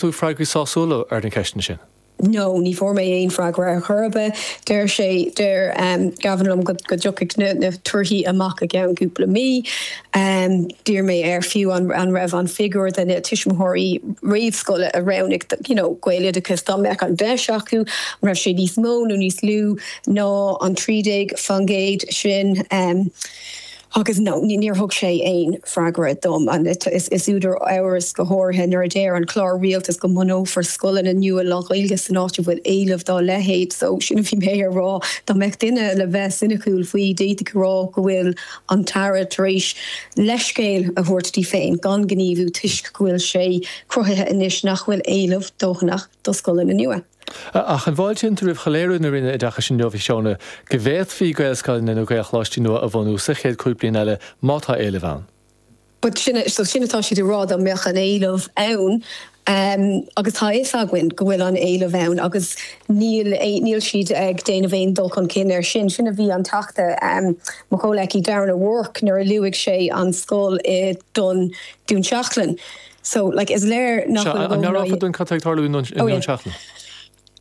tú freagraí sásúla ar na ceisteanna sin? No, ní fuair mé aon freagra ar chor ar bith. Deir sé, deir Gavin liom go dtiocfaidh na torthaí amach i gceann cúpla mí. D'iarr mé air fiú an raibh an figiúr de na tuismitheoirí réamhscoile a roghnaigh you know Gaeloideachas dá mbeadh an deis acu, an raibh sé níos mó nó níos lú ná an 13% sin. Agus no, níor thug sé aon freagra dom. Is údar amhrais go háirithe nuair a deir an clár rialtais go mbunófar scoileanna nua lán-Ghaeilge san áit a bhfuil éileamh dá leithéid. So, sin a bhí mé a rá. Dá mbeadh duine le bheith soiniciúil faoi, d'fhéadfadh a rá go bhfuil an tAire tar éis leithscéal a thabhairt di féin gan gníomhú toisc go bhfuil sé cruthaithe anois nach bhfuil éileamh dóthanach do scoileanna nua. Ach an bhfáiltíonn tú roimh shoiléiriú na Roinne Oideachais inniu, a Shóna, go bhféadfaí Gaelscoileanna nó Gaelcholáistí nua a bhunú sa chéad chúig bliana eile má tá éileamh ann? But sin, so sin atá siad ag rá, dá mbeadh an éileamh ann, agus tá a fhios againn go bhfuil an éileamh ann agus níl, níl siad ag déanamh aon dul chun cinn air sin. Sin a bhí an Teachta, mo chomhleacaí Darren O'Rourke nuair a luaigh sé an scoil i Dún, Dún Seachlainn. So, like, is léir nach bhfuil a An meabhrófá dúinn cad tá ag tarlú i nDún Seachlainn?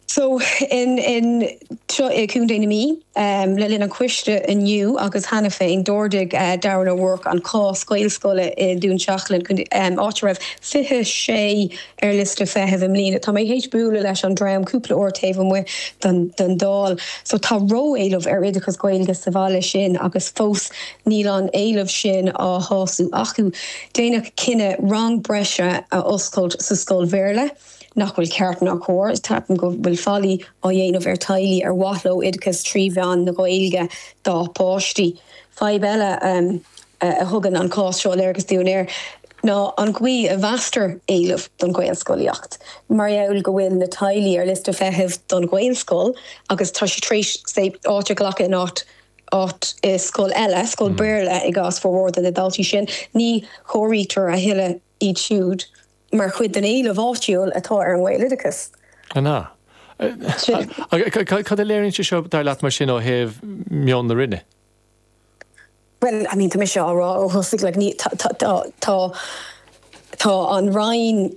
So, in, in, seo i Contae na Mí, le linn an choiste inniu agus cheana féin, d'ardaigh Darren O'Rourke an cás Gaelscoile i nDún Seachlainn, áit a raibh 26 ar liosta feithimh i mbliana. Tá mé théis bualadh leis an dream cúpla uair taobh amuigh den, den Dáil. So, tá ró-éileamh ar oideachas Gaeilge sa bhaile sin agus fós níl an éileamh sin á shású acu. Déanadh cinneadh rang breise a oscailt sa scoil Bhéarla, nach bhfuil ceart ná cóir. Ceapaim go bhfuil faillí á dhéanamh ar teaghlaigh ar mhaith leo oideachas trí mheán na Gaeilge dá bpáistí. Fadhb eile a thugann an cás seo léargas dúinn air ná an gcaoi a mheastar éileamh don Ghaelscolaíocht. Mar gheall go bhfuil na teaghlaigh ar liosta feithimh don Ghaelscoil agus tá siad tar éis, say, áit a ghlacadh in áit áit i scoil eile, scoil Béarla i gcás formhór de na daltaí sin, ní chomhairítear a thuilleadh iad siúd mar chuid den éileamh áitiúil atá ar an nGaeloideachas. An ea? Cad a léiríonn sé seo, dar leat, mar sin, ó thaobh meon na Roinne? Bhuel, I mean, tá mise á rá ó thosaigh, like, ní, tá, tá, tá, tá an Roinn,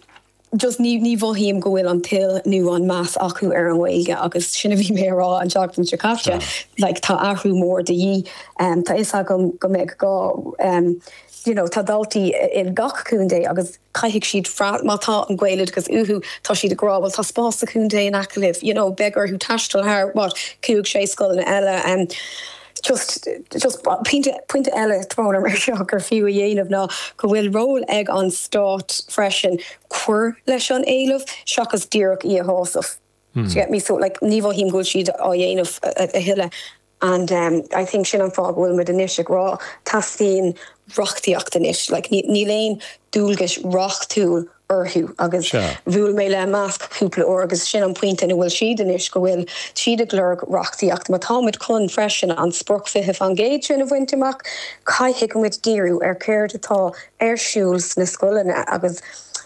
just ní ní mhothaím go bhfuil an toil nó an meas acu ar an nGaeilge agus sin a bhí mé a rá an tseachtain seo caite, like tá athrú mór de dhíth. Tá fhios agam go mbeidh gá you know tá daltaí i gach contae agus caithfidh siad freastal, má tá an Gaeloideachas uathu tá siad ag rá bhuel tá spás sa chontae in aice libh, you know beidh orthu taisteal thar what cúig sé scoileanna eile. Just, just pointe, pointe eile tráthnóna mar seo gur fiú a dhéanamh ná go bhfuil ról ag an stát freisin cur leis an éileamh seachas díreach í a shásamh. Do you get me? So like ní mhothaím go bhfuil siad á dhéanamh a thuilleadh and um I think sin an fáth go bhfuil muid anois ag rá teastaíonn reachtaíocht anois. Like níl aon dualgais reachtúil orthu agus bhuail mé le Imeasc cúpla uair agus sin an pointe ina bhfuil siad anois, go bhfuil siad ag lorg reachtaíocht. Má tá muid chun freisin an sprioc 20% sin a bhaint amach, caithfidh muid díriú ar céard atá ar siúl sna scoileanna agus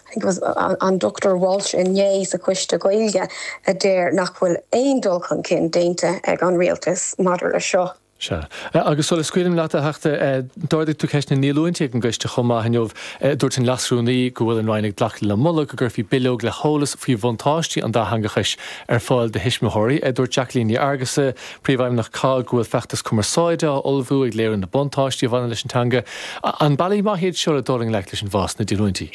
I think it was an Dr Walsh inné sa Choiste Gaeilge a deir nach bhfuil aon dul chun cinn déanta ag an Rialtas maidir le seo. Sea. Agus sula scaoilim leat, a Theachta, d'ardaigh tú ceist na ndíolúintí ag an gcoiste chomh maith inniu. Dúirt an Leas-Rúnaí go bhfuil an Roinn ag glacadh le moladh go gcuirfí bileog le heolas faoi bhuntáistí an dátheangachais ar fáil do thuismitheoirí. Dúirt Jacqueline Ní Fhearghusa, Príomhfheidhmeannach COGG, go bhfuil feachtas cumarsáide á ullmhú ag léiriú na buntáistí a bhaineann leis an teanga. An bealaí maith iad seo le dul i ngleic leis an bhfás sna díolúintí?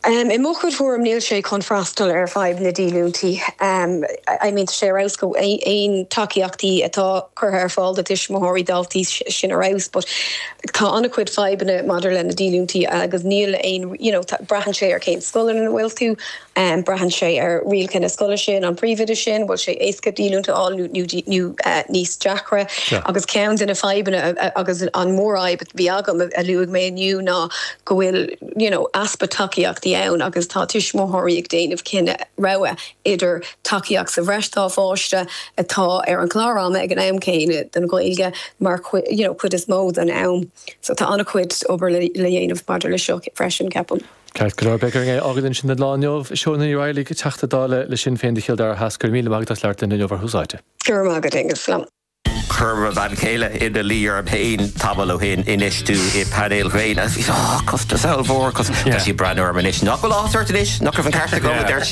I mo chuid thuairim níl sé chun freastal ar fadhb na díolúintí. I mean tá sé ar fheabhas go aon tacaíochtaí atá curtha ar fáil do tuismitheoirí daltaí sin ar fheabhas but tá an-chuid fadhbanna maidir le na díolúintí agus níl aon you know braitheann sé ar cén scoil ina bhfuil tú, braitheann sé ar rialacha na scoile sin, an príomhoide sin, bhfuil sé éasca díolúint a fháil nó nó níos deacra. Agus ceann de na fadhbanna agus an mhórfhadhb a bhí agam a luaigh mé inniu ná go bhfuil you know easpa tacaíochtaí ann agus tá tuismitheoirí ag déanamh cinneadh rogha idir tacaíocht sa bhreis dá pháiste atá ar an chlár ama ag an am céanna don Ghaeilge mar you know cuid is mó den am. So tá an-chuid obair le dhéanamh maidir le seo freisin ceapaim. Ceart go leor, beidh orainn é a fhágáil ansin don lá inniu. Shóna Ní Raghallaigh, Teachta Dála le Sinn Féin do Chill Dara Theas, go raibh míle maith agat as labhairt linn inniu ar Thús Áite. Go raibh maith agat, Aengus. Slán. Chuir mo bhean chéile ina luí orm féin tamall ó shin infheistiú i painéil ghréine. Bhí oh, costas ollmhór, cos tá sí ag breathnú orm anois. Nach bhfuil áthas ort anois? Nach raibh an ceart agam, a deir sí.